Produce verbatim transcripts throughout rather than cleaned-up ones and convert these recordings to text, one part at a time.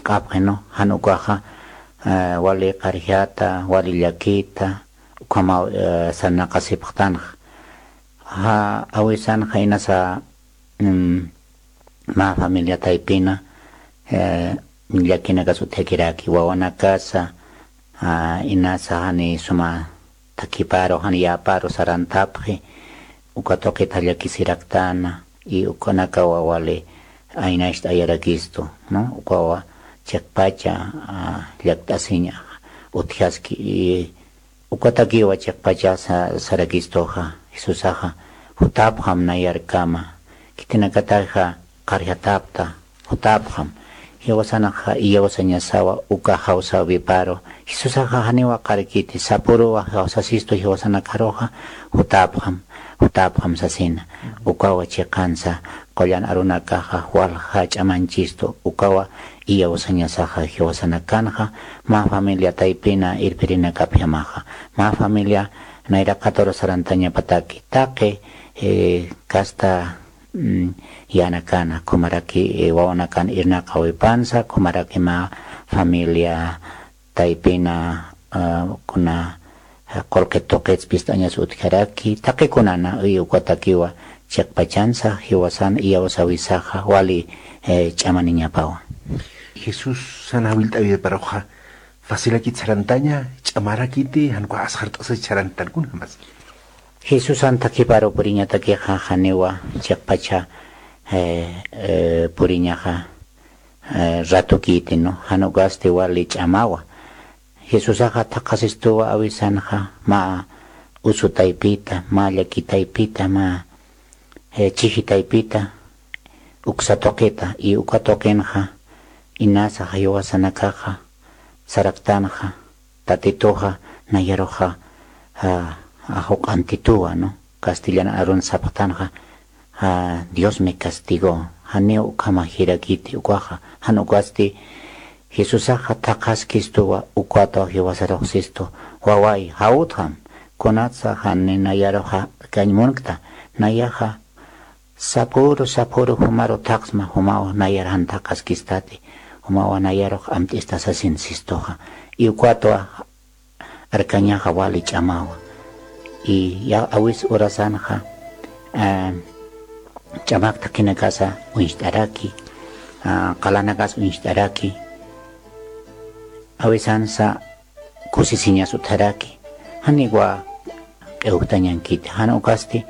q'apxi, ¿no? Jan ukaxa, eh, wali qarjata, wali llakita, ukhamaw, eh, sarnaqasipxtanxa. Ja, awisanxa inasa, mm, mä familia taypina, eh, llakinakas utjakiraki, wawanakasa, ah, inasa jani suma thakiparu, jani yäparu sarantapxi, uka tuqita llakisiraktana, y ukanakawa wali aynacht'ayarakistu, ¿no? Ukawa chiqpacha, ah, llakt'asiña utjaski, y ukatakiwa chiqpacha sa-, sarakistuxa, Jesusaxa, jutapxam nayarkama, khitinakataxa qarjatapta, jutapxam. Jiwasanxa iyawsañasawa uka jawsäwiparu. Jesusaxa janiwa qarkiti, sapuruwa jawsasistu jiwasanakaruxa, jutapxam, jutapxam sasina. Ukawa chiqansa, qullan arunakaxa, walja ch'amanchistu, ukawa iyawsañasaxa jiwasanakanxa, mä familia taypina irpirinakapjamaxa, mä familia nayraqatur sarantañapataki, taqi, eh, kasta, mm, yänakana, khumaraki, eh, wawanakan irnaqawipansa, khumaraki mä familia taypina, ah, kuna, ah, qullqi tuqits pist'añas utjaraki, taqikunana, y ukatakiwa chiqpachansa, jiwasan iyawsawisaxa, wali, eh, ch'amaniñapawa. Jesusan jawillt'awiparuxa, facilakit sarantaña, ch'amarakiti, jan ukax asxart'asach sarantan, kunjamas. Jesusan thakiparu puriñatakixa, janiwa, chiqpacha, eh, eh, puriñaxa, eh, ratukiti, ¿no? Jan ukasti wali ch'amawa. Jesusaxa thaqhasistuwa awisanxa, mä usu taypita, mä llaki taypita, mä, eh, chiji taypita, uksa tuqita, y uka tuqinxa, inasa jiwasanakaxa, saraktanxa, Tatituxa, nayaruxa, ah, ah, juk'antituwa, ¿no? Castellan arun sapxtanxa, ah, Dios me castigó. Janiw ukhama jirakiti ukaxa, jan ukasti Jesusaxa thaqhaskistuwa, ukatwa jiwasaruxsistu, waway, jawtxam, kunatsa jani nayaruxa kañ munkta, nayaxa sapüru, sapüru jumaru thaqsma, jumawa nayar jan thaqhaskistati, jumawa nayarux amt'ista sasin sistuxa. Y ukatwa arkañaxa wali ch'amawa. Y ya awis urasanxa, eh, ch'amak thaqinakasa uñst'araki, ah, qalanakas uñst'araki. Awisansa kusisiñas utjaraki, janiwa q'iwjtañankiti, jan ukasti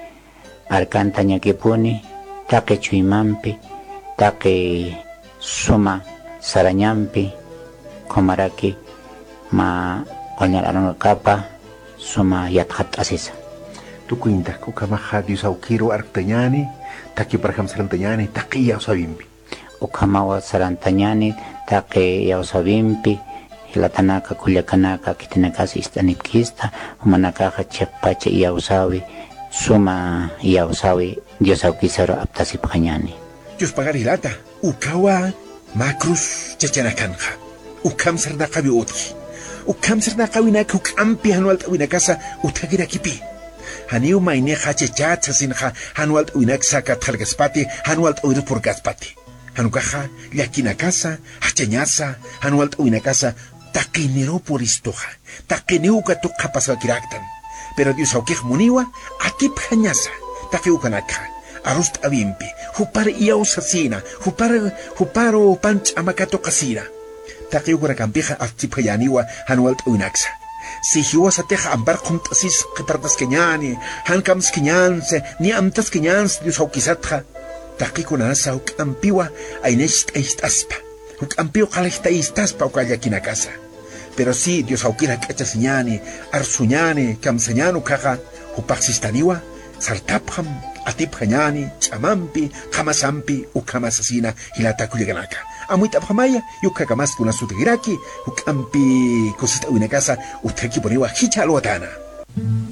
arkantañakipuni, taqi chuymampi, taqi suma sarañampi, khumaraki mä qullñar arunakapa suma yatxatt'asisa. Tukuyntak ukhamaxa Dios awkiru arktañäni, thakiparjam sarantañäni, taqi iyawsäwimpi. Ukhamawa sarantañäni, taqi iyawsäwimpi, jilatanaka, kullakanaka, khitinakas ist'anipkista, jumanakaxa chiqpacha iyawsäwi, suma iyawsäwi, Dios awkisaru aptasipxañäni. Dios pagar jilata, ukawa mä cruz chachanakanxa. Ukham sarnaqawi utji. Ukham sarnaqawinak juk'ampi jan walt'äwinakasa utjakirakipï. Janiw maynixa chachat sasinxa jan walt'äwinaksa katxarkaspati, jan walt'äwirus purkaspati. Jan ukaxa, llakinakasa, jachañasa, jan walt'äwinakasa, taqiniruw puristuxa, taqiniw uka tuqxa pasawakiraktan. Pero Dios awkix muniwa, atipjañasa, taqi ukanakxa, arust'äwimpi, jupar iyawsasina, jupar, juparu pan ch'ama katuqasina. Taqi ukanakampixa atipjayäniwa jan walt'äwinaksa. Si jiwasatixa ampar qhumt'asis qhipartaskañäni, jan kamskiñänsi, niy amtaskiñänsi Dios awkisatxa, taqi kunanasa juk'ampiwa aynacht'ayst'aspa, juk'ampiw qallqt'aystaspa uka llakinakasa. Pero si Dios awkir jak'achasiñäni, arsuñäni, kamsañäni ukaxa, jupax sistaniwa, sartapxam, atipjañäni, ch'amampi, qhamasampi, ukhama sasina, jilata kullakanaka. Amuyt'apxamaya, y ukhakamas kunas utjkiraki, juk'ampi kusist'äwinakasa, utjakipuniwa jichha alwatäna.